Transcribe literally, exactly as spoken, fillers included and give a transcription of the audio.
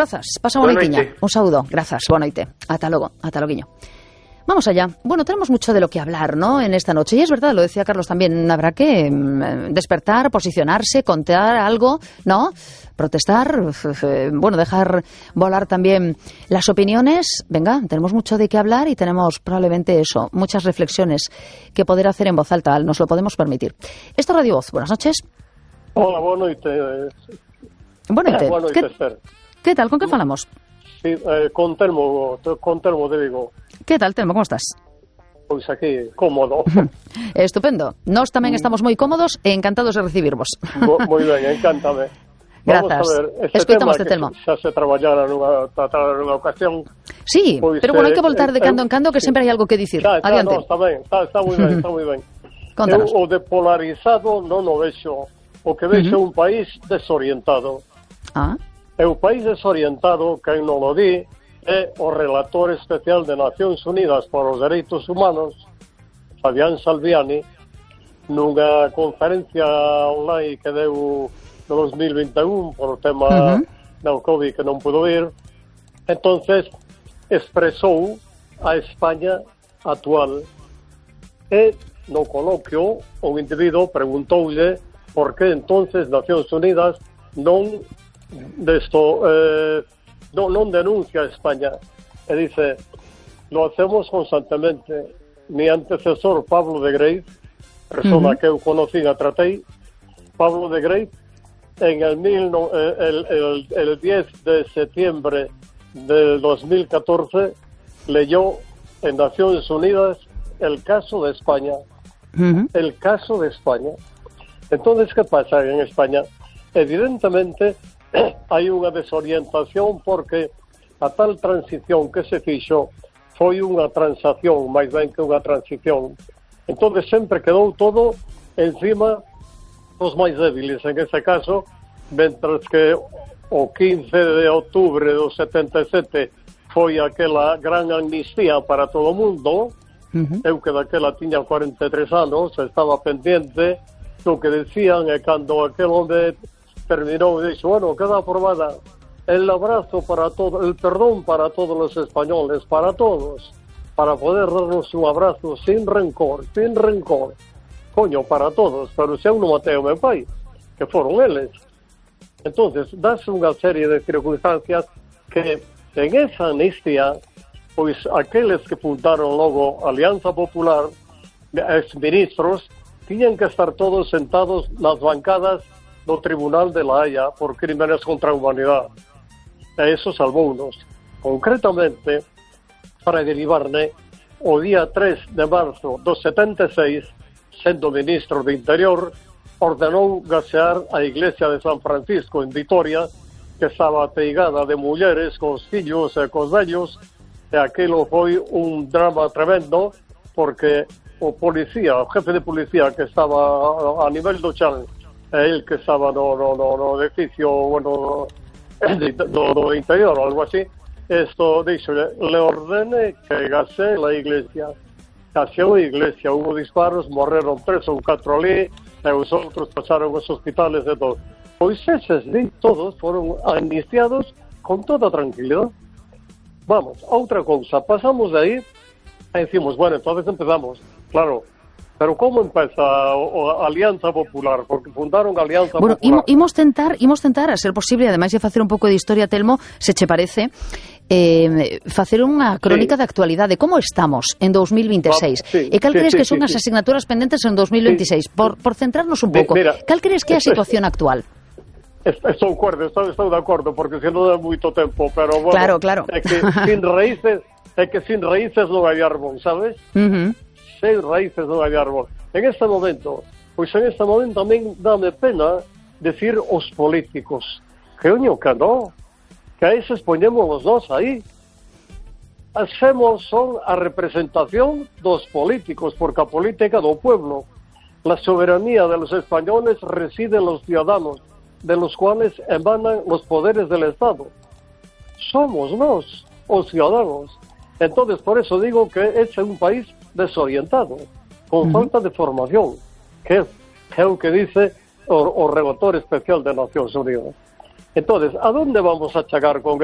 Grazas, pasa boa noitiña. Un saúdo, grazas, boa noite. Ata logo, ata loguiño. Vamos allá. Bueno, tenemos mucho de lo que hablar, ¿no?, en esta noche. Y es verdad, lo decía Carlos también, habrá que mm, despertar, posicionarse, contar algo, ¿no?, protestar, bueno, dejar volar también las opiniones. Venga, tenemos mucho de qué hablar y tenemos probablemente eso, muchas reflexiones que poder hacer en voz alta, nos lo podemos permitir. Esto es Radio Voz, buenas noches. Hola, boa noite. Boa noite. Boa noite, Esther. Que tal, con que falamos? Sí, eh, con Telmo, con Telmo de Vigo. Que tal, Telmo, como estás? Pois aquí, cómodo. Estupendo. Nós tamén estamos moi cómodos e encantados de recibirvos. Moi ben, encántame. Grazas. Vamos a ver, este Escoitamos tema de Telmo. Que xa se traballara nunha, tratar nunha ocasión. Sí, pois, pero bueno, hai que eh, voltar de cando en cando que sí. sempre hai algo que dicir. Xa, xa, Adiante. no, está ben, está, está moi ben, está moi ben. Contanos. Eu, o de polarizado non o vexo. O que vexo é Uh-huh. un país desorientado. Ah, É un país desorientado, quen non lo di, é o relator especial de Nacións Unidas por os Dereitos Humanos, Fabián Salviani, nunha conferencia online que deu no dos mil vinte e un por o tema Uh-huh. do COVID que non pudo ir. Entonces expresou a España actual e no coloquio un individuo preguntoulle por que entonces Nacións Unidas non desto eh, non, non denuncia a España e dice, lo hacemos constantemente. Mi antecesor Pablo de Grey, persona uh-huh. que eu conocí a tratei, Pablo de Grey, en el, mil, no, el, el, el diez de septiembre del dos mil catorce leyó en Naciones Unidas el caso de España. Uh-huh. El caso de España. Entonces, ¿qué pasa en España? Evidentemente hai unha desorientación porque a tal transición que se fixo foi unha transación, máis ben que unha transición. Entonces sempre quedou todo encima dos máis débiles, en ese caso, mentras que o quince de outubro do setenta e sete foi aquela gran amnistía para todo o mundo. Uh-huh. Eu que daquela tiña cuarenta e tres anos, estaba pendiente do que decían, e cando aquel hombre terminou e dixo, bueno, queda aprobada el abrazo para todos, el perdón para todos los españoles, para todos, para poder darnos un abrazo sin rencor, sin rencor, coño, para todos, pero se eu non matei o meu pai, que foron eles. Entonces, dáse unha serie de circunstancias que en esa amnistía, pois aqueles que fundaron logo Alianza Popular, ex-ministros, tiñan que estar todos sentados nas bancadas do Tribunal de la Haya por crímenes contra a humanidade. E eso salvounos. Concretamente, para derivarne, o día tres de marzo do setenta e seis, sendo ministro de Interior, ordenou gasear a iglesia de San Francisco en Vitoria, que estaba ateigada de mulleres cos fillos e cos vellos, e aquilo foi un drama tremendo, porque o policía, o jefe de policía que estaba a nivel do chan, el que estaba no, no, no, no edificio, bueno, do, do interior o algo así, esto dixo, le ordene que gasee la iglesia. Gaseou a iglesia, hubo disparos, morreron tres ou catro ali, e os outros pasaron os hospitales e todo. Pois eses de todos foron amnistiados con toda tranquilidade. Vamos, outra cousa, pasamos de aí e decimos, bueno, entonces empezamos, claro. Pero como empeza a Alianza Popular? Porque fundaron a Alianza bueno, Popular. Bueno, imos tentar, imos tentar, a ser posible, ademais de facer un pouco de historia, Telmo, se che parece, eh, facer unha crónica sí. de actualidade. Como estamos en dos mil veintiséis? Sí, e cal sí, crees sí, que son sí, as sí. asignaturas pendentes en dos mil veintiséis? Sí. Por, por centrarnos un pouco, Mira, cal crees que é a situación actual? Estou de acordo, estou, estou de acordo, porque se non dá moito tempo, pero bueno, claro, claro. é que sin raíces, é que sin raíces non hai árbol, sabes? Uh-huh. Sin raíces non hai árbol. En este momento, pois en este momento tamén dame pena decir os políticos, que oño que non, que aí se expoñemos nós aí. Hacemos son a representación dos políticos, porque a política do pueblo, la soberanía de los españoles reside en los ciudadanos, de los cuales emanan los poderes del Estado. Somos nós, os ciudadanos. Entonces, por eso digo que es un país desorientado, con uh-huh. falta de formación, que é o que dice o, o relator especial de Nacións Unidas. Entonces, ¿a dónde vamos a chegar con